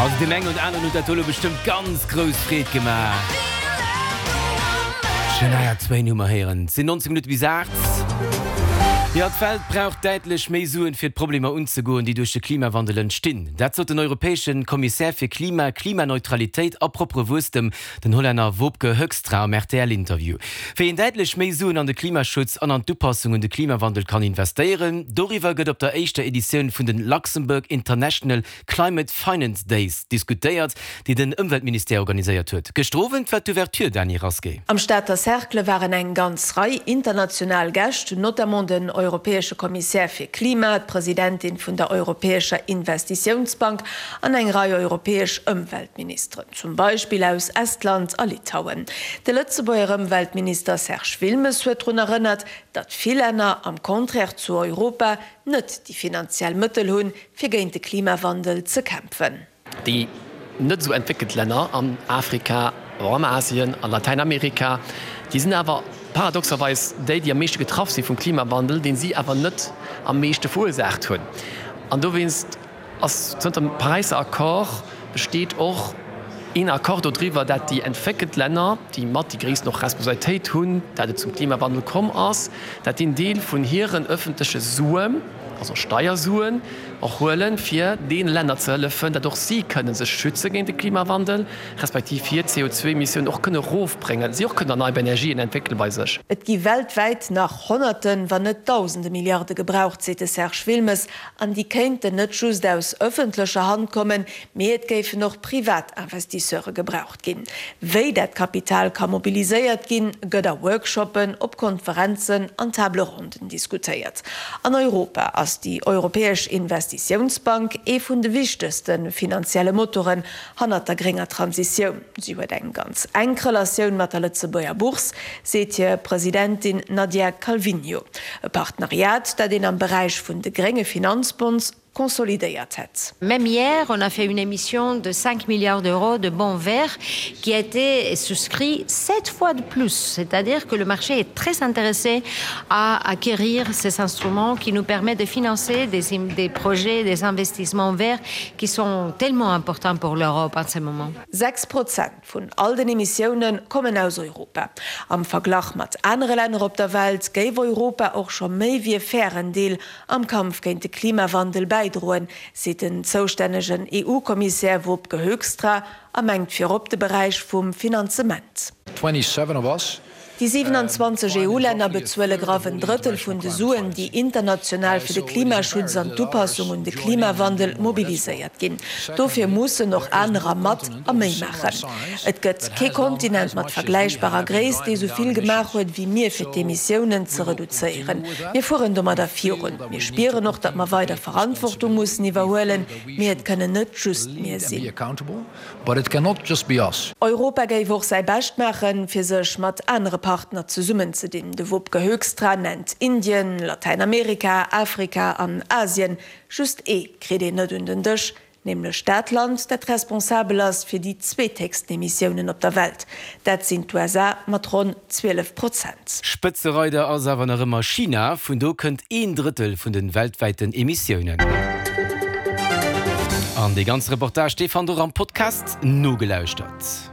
Also deem engen oder aneren huet dat do elo bestëmmt ganz grouss Freed gemaach. Shania Twain hu mer héieren. Et sinn 19 Minutte bis 8. Jo, d'Welt brauch däitlech méi Suen, fir d'Problemer unzegoen, déi duerch de Klimawandel entstinn. Dat sot den europäesche Kommissär fir Klima, Klimaneutralitéit a proppere Wuesstem, den Hollänner Wopke Hoekstra am RTL-Interview. Wéi een däitlech méi Suen an de Klimaschutz an an d'Upassung un de Klimawandel kann investéieren, doriwwer gëtt op der éischter Editioun vun den Luxembourg International Climate Finance Days diskutéiert, déi den Ëmweltministère organiséiert huet. Gëschter Owend war d'Ouverture, Dany Rasqué. Am Stater Cercle waren eng ganz Rei international Gäscht, notamment den europäesche Kommissär fir Klima, d'Presidentin vun der Europäescher Investitiounsbank an eng Rei europäesch Ëmweltministeren, zum Beispill aus Estland a Litauen. De Lëtzebuerger Ëmweltminister Serge Wilmes huet drun erënnert, datt vill Länner, am Contraire zu Europa, net déi finanziell Mëttel hunn, fir géint de Klimawandel ze kämpfen. Déi net esou entwéckelt Länner an Afrika, awer och an Asien, a Latäinamerika, déi sinn awer paradoxerweis déi, déi am meeschte getraff si vum Klimawandel, deen si awer net am meeschte verursaacht hunn. An dowéinst ass zënter dem Paräisser Accord besteet och een Accord dodriwwer, dat déi entwéckelt Länner, déi mat déi gréissten och Responsabilitéit hunn, dat et zum Klimawandel komm ass, dat déi en Deel vun hiren öffentleche Suen, also Steiersuen, och huelen, fir deene Länner ze hëllefen, datt och si kënne sech schütze géint de Klimawandel, respektiv hir CO2-Emissiounen och kënne erofbréngen, si och kënnen erneierbar Energien entwéckele bei sech. Et gi weltwäit nach Honnerten, wann net Dausende Milliarde gebraucht, seet de Serge Wilmes. An déi kéinten net just aus ëffentlecher Hand kommen, mee et géifen och privat Investisseure gebraucht ginn. Wéi dat Kapital ka mobiliséiert ginn, gëtt a Workshoppen, op Konferenzen an Table ronden diskutéiert. An Europa ass déi Europäesch Investitiounsbank ee vun de wichtegste finanzielle Motoren hannert der grénger Transitioun. Si huet eng ganz enk Relatioun mat der Lëtzebuerger Bourse, seet hir Presidentin Nadia Calviño. E Partenariat, dat een am Beräich vun de grénge Finanzbonds consolidéiert hätt. Même hier, on a fait une émission de 5 milliards d'euros de bons verts qui a été souscrit sept fois de plus. C'est-à-dire que le marché est très intéressé à acquérir ces instruments qui nous permettent de financer des, des projets, des investissements verts qui sont tellement importants pour l'Europe en ce moment. 6 Prozent vun all den Emissioune kommen aus Europa. Am Verglach mat anere Länner op der Welt géif Europa och scho méi wéi e fairen Deel am Kampf géint de Klimawandel bäidroen, seet den zoustännegen EU-Kommissär Wopke Hoekstra a mengt virop de Beräich vum Finanzement. 27 of us Déi 27 EU-Länner bezuele graff en Drëttel vun de Suen, déi international fir de Klimaschutz an d'Upassung un de Klimawandel mobiliséiert ginn. Dofir mussen och anerer mat a méi maachen. Et gëtt kee Kontinent mat vergläichbarer Gréisst, dee sou vill gemaach huet wéi mir, fir d'Emissiounen ze reduzéieren. Mir fueren domadder virun. Mir spieren och, datt mer weider Verantwortung mussen iwwerhuelen, mee et kënnen net just mir sinn. But it cannot just be us. Europa géif och säi Bescht maachen, fir sech mat anere Partner zesummenzedinn. De Wopke Hoekstra nennt Indien, Latäinamerika, Afrika an Asien. Just ee kritt een net un den Dësch, nämlech dat Land, dat responsabel ass fir déi zweethéchsten Emissiounen op der Welt. Dat sinn d'USA mat ronn 12 Prozent. Spëtzereider ass awer nach ëmmer China, vun do kënnt een Drëttel vun de weltwäiten Emissiounen. An dee ganze Reportage, dee fannt der och am Podcast nogelauschtert.